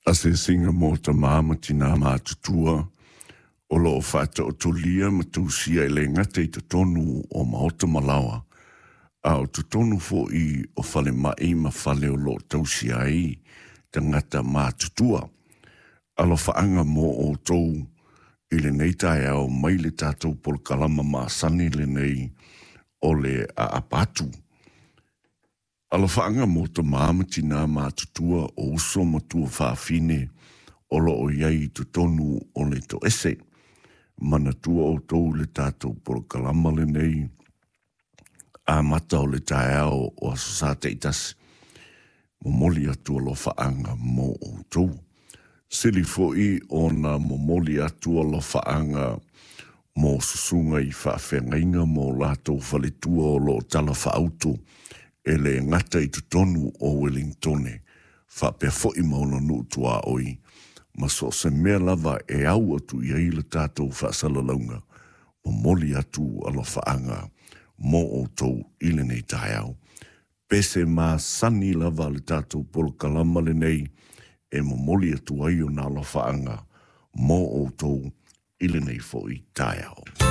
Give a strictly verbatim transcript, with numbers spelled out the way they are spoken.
Asiasiga mo tamā ma tinā matutua o loo faataotolia ma tausia e le gata i totonu o maota ma laoa, a o totonu fo'i o falema'i ma fale o loo tausia ai tagata matutua. Alofaaga mo outou i lenei taeao mai le tatou polokalama masani lenei o le aapa atu. Alofaaga mo tamā ma tinā matutua o uso ma tuafafine o loo i ai i totonu o le toese. Manatua outou le tatou polokalama lenei amata o le taeao o Aso Sa taitasi. Momoli atu alofaaga mo outou. Sili fo'i ona momoli atu alofaaga mo susuga i faafeagaiga ma o latou faletua o loo talafaauto e le gata i totonu o Welingtone faapea fo'i ma ona nuu tuaoi ma so o se mea lava e au atu i ai le tatou faasalalauga. Momoli atu alofaaga mo outou i lenei taeao. Pese masani lava le tatou polokalama lenei e momoli atu ai ona alofaaga mo outou i lenei fo'i taeao.